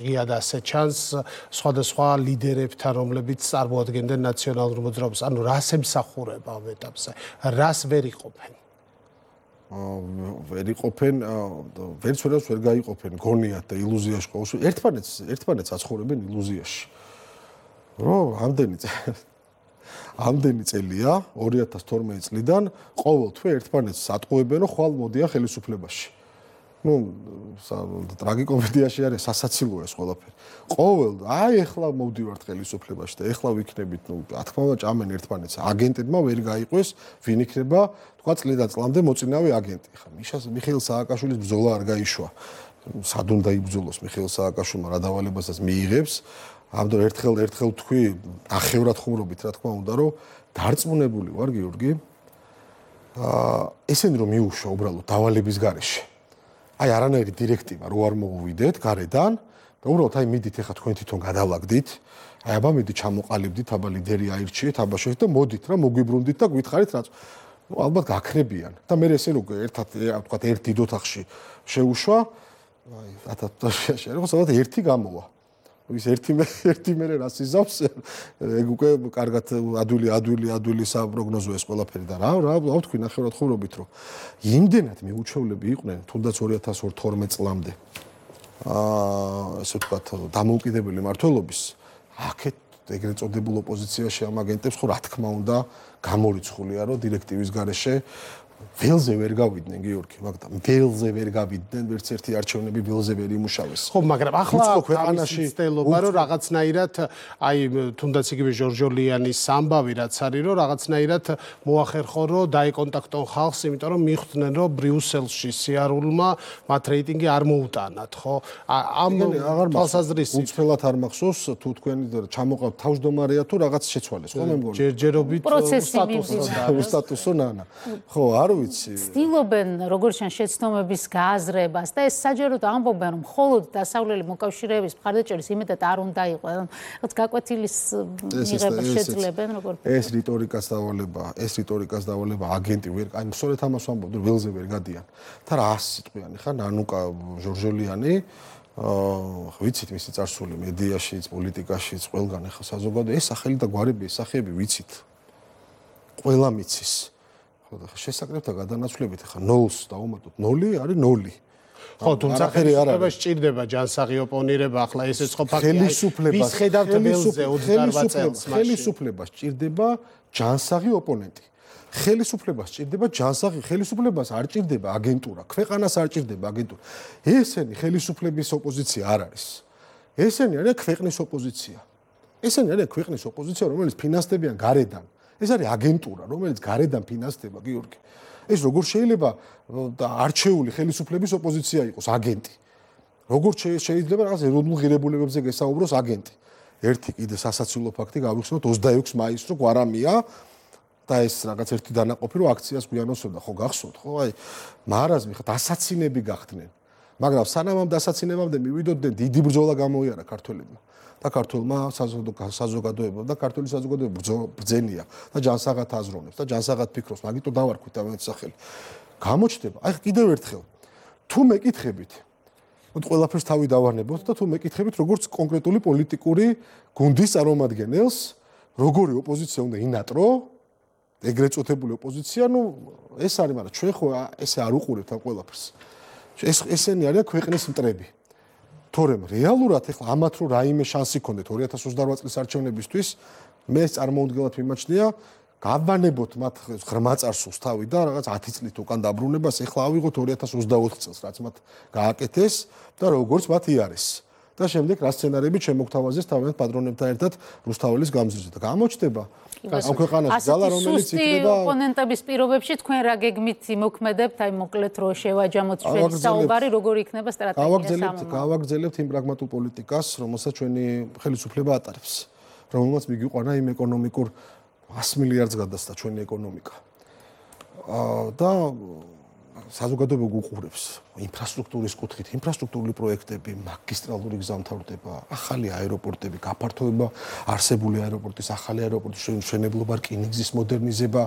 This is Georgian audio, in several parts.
ღია და ასე ჩანს სხვადასხვა ლიდერებთან, რომლებიც წარმოადგენდნენ ნაციონალურ მოძრაობას. ანუ რას ემსახურება ამ ეტაპზე? რას ვერ იყოფენ? ვერ იყოფენ, ვერც ვერ გაიყოფენ გონიათ და ილუზიაში ყოველთვის ერთმანეთს აცხოვრებენ ილუზიაში. რომ ამდენი წელია 2012 წლიდან ყოველ თვე ერთმანეთს ატყუებენ, რომ ხვალ მოდიან ხელისუფლებაში. ტრაგიკომედიაში არის სასაცილოა ეს ყველაფერი. ყოველ ეხლა მოვდივართ ხელისუფლებაში და ეხლა ვიქნებით, რა თქმა უნდა, ჭამენ ერთმანეთს. აგენტებმა ვერ გაიყვეს, ვინ იქნება, თქვა წლიდან წლამდე მოწინავე აგენტი. ხა მიხეილ სააკაშვილის ბრძოლა არ გაიშვა. სად უნდა იბრძოლოს მიხეილ სააკაშვილმა, რა დავალებასაც მიიღებს. ამდენ ერთხელ თქვი, ნახევრად ხუმრობით, რა თქმა უნდა, რომ დარწმუნებული ვარ, გიორგი. ესენი რომ მიუშვა უბრალოდ დავალების გარეშე. აი არანაირი დირექტივა რო არ მოუვიდეთ გარედან და უბრალოდ აი მიდით ეხა თქვენ თვითონ გადავაგდით აი აბა მიდით ჩამოყალიბდით აბა ლიდერი აირჩიეთ აბა შეეთ და მოდით რა მოგვიბრუნდით და გითხარით რაც ალბათ გაქრებიან და მე ესე რო ერთად ვთქვათ ერთ დიდ ოთახში შეუშვა აი 1000-ში რა ხომ ერთი გამოვა ის ერთი მერე რას იზავს ეგ უკვე კარგად ადვილი საპროგნოზო ეს ყველაფერი და რა ვთქვი ნახევრად ხუმრობით რომ იმდენად მიუჩვევლები იყვნენ თუნდაც 2012 წლამდე ასე ვთქვათ დამოუკიდებელი მმართველობის აქეთ ეგრეთ წოდებულ ოპოზიციაში ამ აგენტებს ხო რა თქმა უნდა გამორიცხულია რომ დირექტივის გარეშე ველზე ვერ გავიდნენ გიორგი, მაგრამ ველზე ვერ გავიდნენ, ვერც ერთი არჩევნები ველზე ვერ იმუშავეს. ხო, მაგრამ ახლა ქვეყანაში ცდილობა რომ რაღაცნაირად აი თუნდაც იგივე ჟორჟოლიანის ამბავი რაც არის რომ რაღაცნაირად მოახერხო რომ დაიკონტაქტონ ხალხს, იმიტომ რომ მიხვდნენ რომ ბრიუსელში სიარულმა მათ რეიტინგი არ მოუტანათ, ხო? ამ თვალსაზრისით უცვლად არ მახსოვს თუ თქვენი ჩამოყავთ თავმჯდომარეა თუ რაღაც შეცვალეს, ხო მე მგონი? ჯერჯერობით სტატუსო ნანა. ხო, ცდილობენ როგორც შენ შეცდომების გააზრებას და ეს საჯაროდ ამბობენ რომ მხოლოდ დასავლელი მოკავშირეების მხარდაჭერის იმედად არ უნდა იყოს რაღაც გაკვეთილის მიღებას შეძლებენ როგორ ეს რიტორიკას დავალება აგენტი ვერ აი სწორედ ამას ვამბობ რომ ველზე ვერ გადიან და რა 100 სიტყვიანი ხა ნანუკა ჟორჟოლიანი ვიცით მისი წარსული მედიაშიც პოლიტიკაშიც ყველგან ხა საზოგადო ეს სახელი და გვარები ეს სახეები ვიცით ყველა მიცის შესაკრებთა გადანაცვლებით ხა 0-ს დავუმატოთ 0 არის 0. ხო, თუმცა ხელისუფლებას სჭირდება ჯანსაღი ოპონირება, ახლა ესეც ხო ფაქტია. ვის ხედავთ ველზე 28 წელს მაშინ. ხელისუფლებას სჭირდება ჯანსაღი ოპონენტი. ხელისუფლებას სჭირდება ჯანსაღი, ხელისუფლებას არ სჭირდება აგენტურა, ქვეყანას არ სჭირდება აგენტურა. ესენი ხელისუფლების ოპოზიცია არ არის. ესენი არის ქვეყნის ოპოზიცია. ესენი არის ქვეყნის ოპოზიცია, რომელიც ფინანსდებიან გარედან. ეს არის აგენტურა, რომელიც გარედან ფინანსდება, გიორგი. ეს როგორ შეიძლება არჩეული ხელისუფლების ოპოზიცია იყოს აგენტი? როგორ შეიძლება რაღაც ეროვნულ ღირებულებებზე გესაუბროს აგენტი? ერთი კიდე სასაცილო ფაქტი გავიხსენოთ 26 მაისს რო გვარამია და ეს რაღაც ერთი დანაყოფი რო აქციას გვიანოსებდა, ხო გახსოვთ, ხო? აი მარაზმი ხა დასაცინები გახდნენ. მაგრამ სანამ ამ დასაცინებამდე მივიდოდნენ დიდი ბრძოლა გამოიარა ქართველებმა. და ქართულმა საზოგადოებამ და ქართული საზოგადოება ბრძენია და ჯანსაღად აზროვნებს და ჯანსაღად ფიქრობს, მაგიტო დავარქვით ამეთ სახელი. გამოჩნდება, აი კიდევ ერთხელ, თუ მეკითხებით, მოთ ყველაფერს თავი დავანებოთ და თუ მეკითხებით, როგორც კონკრეტული პოლიტიკური გუნდის წარმომადგენელს, როგორი ოპოზიცია უნდა ინატრო, ეგრეთ წოდებული ოპოზიცია, ნუ ეს არის, მაგრამ ჩვენ ხო ესე არ უყურებთ ამ ყველაფერს. ესენი არიან ქვეყნის მტრები. თორემ რეალურად ეხლა ამათ რო რაიმე შანსი ქონდეთ 2028 წლის არჩევნებისთვის მე წარმოუდგენლად მიმაჩნია გავანებოთ მათ ღრმა წარსულს თავი და რაღაც 10 წლით უკან დაბრუნებას ეხლა ავიღოთ 2024 წელს რაც მათ გააკეთეს და როგორც მათ იარეს და შემდეგ რა სცენარები შემოგთავაზეს თავიანთ პატრონებთან ერთად რუსთაველის გამზირზე და გამოჩნდება ამ ქვეყანაში ძალა რომელიც იქნება ოპონენტების პირობებში თქვენ რა გეგმით იმოქმედებთ აი მოკლედ რო შევაჯამოთ ჩვენი საუბარი როგორ იქნება სტრატეგია გავაგრძელებთ იმ პრაგმატულ პოლიტიკას რომელსაც ჩვენი ხელისუფლება ატარებს რომელმაც მიგიყვანა იმ ეკონომიკურ 100 მილიარდს გადასცა ჩვენი ეკონომიკა და საზოგადოება გუყურებს ინფრასტრუქტურის კუთხით, ინფრასტრუქტურული პროექტები, მაგისტრალური გზამთავრდება, ახალი აეროპორტები, გაფართოება არსებული აეროპორტის, ახალი აეროპორტის მშენებლობა, რკინიგზის მოდერნიზება,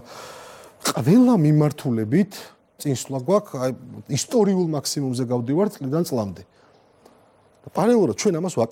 ყველა მიმართულებით წინსვლა გვაქვს, აი ისტორიულ მაქსიმუმზე გავდივართ წლიდან წლამდე. პარალელურად ჩვენ ამას